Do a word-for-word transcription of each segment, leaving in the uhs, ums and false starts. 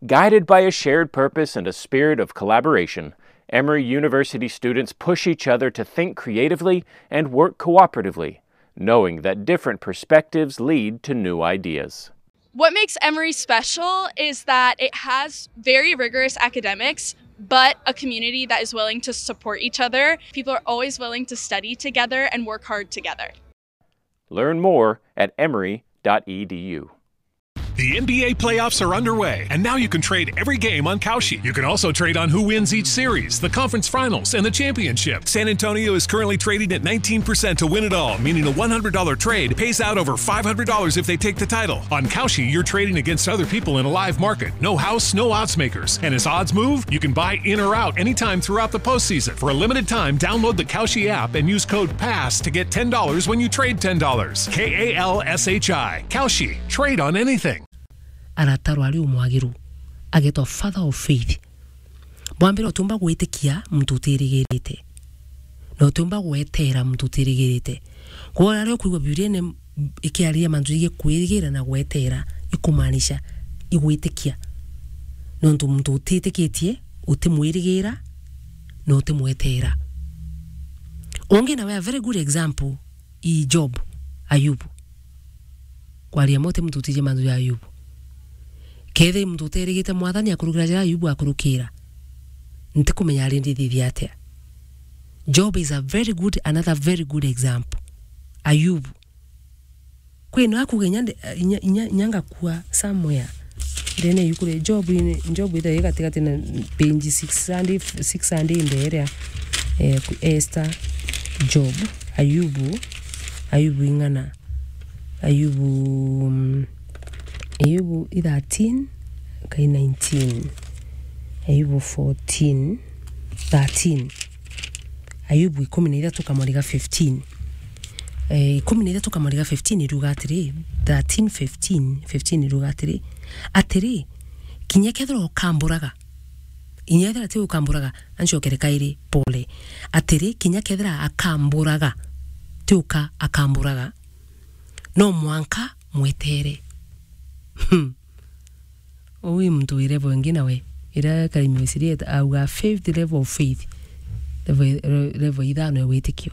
Guided by a shared purpose and a spirit of collaboration, Emory University students push each other to think creatively and work cooperatively, knowing that different perspectives lead to new ideas. What makes Emory special is that it has very rigorous academics, but a community that is willing to support each other. People are always willing to study together and work hard together. Learn more at emory dot e d u. The N B A playoffs are underway, and now you can trade every game on Kalshi. You can also trade on who wins each series, the conference finals, and the championship. San Antonio is currently trading at nineteen percent to win it all, meaning a one hundred dollar trade pays out over five hundred dollars if they take the title. On Kalshi, you're trading against other people in a live market. No house, no odds makers. And as odds move, you can buy in or out anytime throughout the postseason. For a limited time, download the Kalshi app and use code pass to get ten dollars when you trade ten dollars. K A L S H I. Kalshi. Trade on anything. Aratarwa ari umwagiru, agetwa Father of Faith. Bwa mbere, utiumba gwitikia muntu utirigirite, na utiumba gweteera muntu utirigirite. Kwou aria ukwigua Bibiliene ikiariria mantu jegii kwirigira na gweteera, ikumaanisha igwitikia. Nontu muntu utitikitie, utimwirigira, na utimweteera. Ungi nawe, a very good example, i Job, Ayubu. Kwaria mo ti muntu utiji mantu ja Ayubu. Kethira muntu uterigite Mwathani akurukira jaria Ayubu akurukira, ntikumenya ari ndithithia atia. Job is a very good, another very good example. Ayubu. Kwina akuga inya nde-, inya, inya, inya ngakua somewhere. Ndene yuku ria Job, in, Job ithae gatigati na page six hundred, six hundred ndeeria, eh, ku-, Esther, Job, Ayubu, Ayubu ing'ana, Ayubu, mm, Ayubu i thirteen, kai nineteen, Ayubu fourteen, thirteen. Ayubu ikumi na ithatu kamwari ga fifteen. Eh, ikumi na ithatu kamwari ga fifteen iruga atiri, thirteen fifteen, fifteen iruga atiri, atiri, kinya kethira ukamburaga, inya ethira ti ukamburaga, ancokere kairi, pole. Atiri, kinya kethira akamburaga, ti uka akamburaga, no mwanka mwetere. Hmm. Uu i muntu wi level ingi nawe. Iria Karimi Wesili auga fifth level of faith. Level, level ithano ya witikio.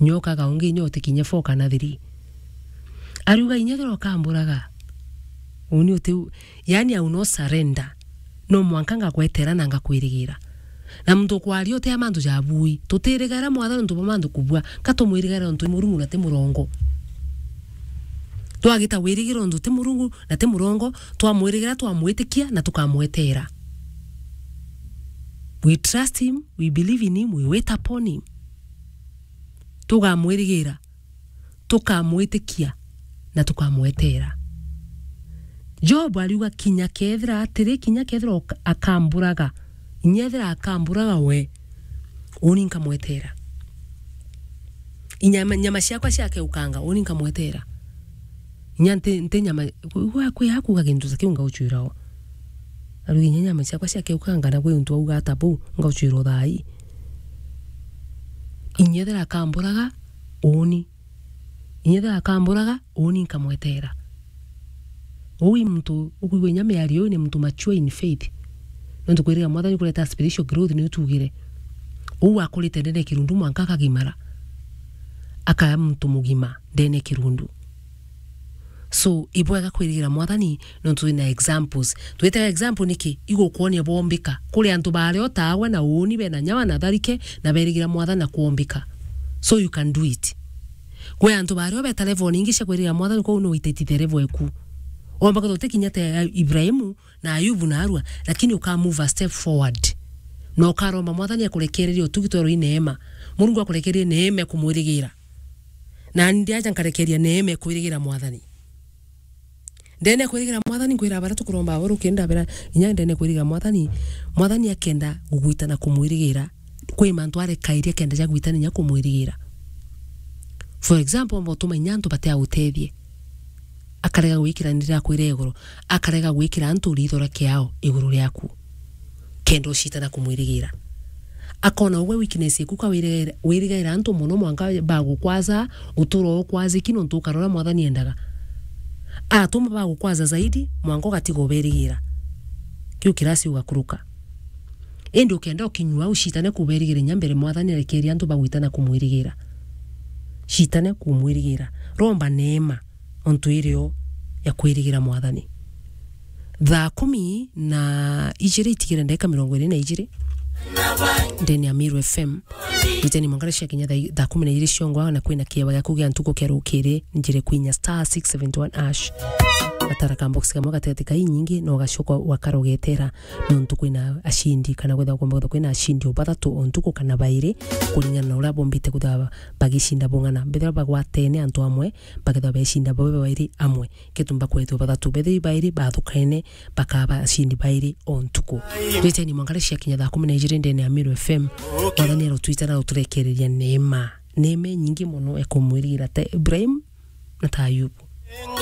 Nyoka ga ungi nyo utikinye four kana three. Ariuga inya thira ukamburaga. Uni uti, yani, I will not surrender. No mwanka ngagwetera na ngakwirigira. Na muntu ukwaria uti a mantu ja bui. Tutirigaira Mwathani untu bwa mantu kubua. Ka tumwirigaira untu i Murungu na ti murongo. Twagita wirigira untu ti Murungu na ti murongo, twamwirigira, twamwitikia na tukamwetera. We trust him, we believe in him, we wait upon him. Tugamwirigira, tukamwitikia na tukamwetera. Job ariuga, kinya kethira atiri, kinya kethira oka-, akamburaga, inya ethira akamburaga we, uni nkamwetera. Inyama, nyama ciakwa ciakeukanga, uni nkamwetera. Inya nti, nti nyama, gwa kwi akuga gintu ta kiu ngauchwira o. Ariuga, inya nyama ciakwa ciakeukanga, na gwi untu auga ata buu, ngauchwira o thaa ii. Inya ethira akamburaga, uni. Inya ethira akamburaga, uni nkamwetera. Uu i muntu ukwigua inya miario iu ni muntu mature in faith. Nontu kwiriga Mwathani kureta spiritual growth ni utugire. Uu akurite ndene ya kirundu mwanka akagimara. Akaya muntu mugima ndene ya kirundu. So, ibwega kwirigira Mwathani nontu twina examples. Twitaga example niki? Igukwonia bwombika. Kuri antu baria o tawe na uuni bena nyawa na tharike na berigira Mwathani na kwombika. So you can do it. Kwi antu baria o beta level ningi cia kwirigira Mwathani, kwou no wititithe level eku. Omba kwithirwa utikinya ta Ibrahimu na Ayubu na arua, lakini uka move a step forward. Na ukaromba Mwathani akurekererie utugi twerwo i neema. Murungu akurekererie neema ya kumwirigira. Na ndi aja nkarekeria neema ya kwirigira Mwathani. Ndene ya kwirigira Mwathani, nkwira baria tukuromba abo ruki ndabera, inya ndene ya kwirigira Mwathani, Mwathani akenda gugwita na kumwirigira, kwi mantu arekairia kenda ja gwitana inya kumwirigira. For example, omba utuma inya antu batia utethie. Akarega gwikira ndira kwira iguru, akarega gwikira antu riitho ria kiao iguru riaku. Kenda ucitana kumwirigira. Akona ugwe weakness eku ka wirigaira, wirigaira antu mono mwanka bagukwaza, utura ukwaziki nontu ukarora Mwathani endaga. Atuma bagukwaza zaidi, mwanka ugatiga uberigira. Ju kirasi ugakuruka. Indi ukenda ukinyua au, citane kuberigira inya mbere Mwathani arekeria antu bagwita na kumwirigira. Citane kumwirigira. Romba neema ontu irio ya kwirigira Mwathani. Thaa kumi na ijiri itigire ndagika mirongo iri na ijiri ndene ya Meru F M. Riteni mwangara cia kinya thaa, thaa kumi na ijiri ciongwa na kwina kieba gia kugia ntuku kia rukiri njire kwinya star six seventy one hash. Gatara ka box kamwe gatigati ka inyingi no gacoka wakara ugetera nontu kwina ashindi kana kwithirwa kwomba kwithirwa kwina ashindi o bathatu o ntuku kana bairi kuringana na uria bombite kwithirwa bagicinda bung'ana. Mbethirwa bagwatene antu amwe bakethirwa becinda babe bairi amwe. Ketumba kwethirwa bathatu bethirwa bairi bathukaine bakaba ashindi bairi o ntuku. Riteni mwangara cia kinya thaa kumi na ijiri ndene ya Meru F M. Mwathani arotwita na uturekereria neema. Neema inyingi mono ekumwirigira ta Ibrahim na ta Ayubu.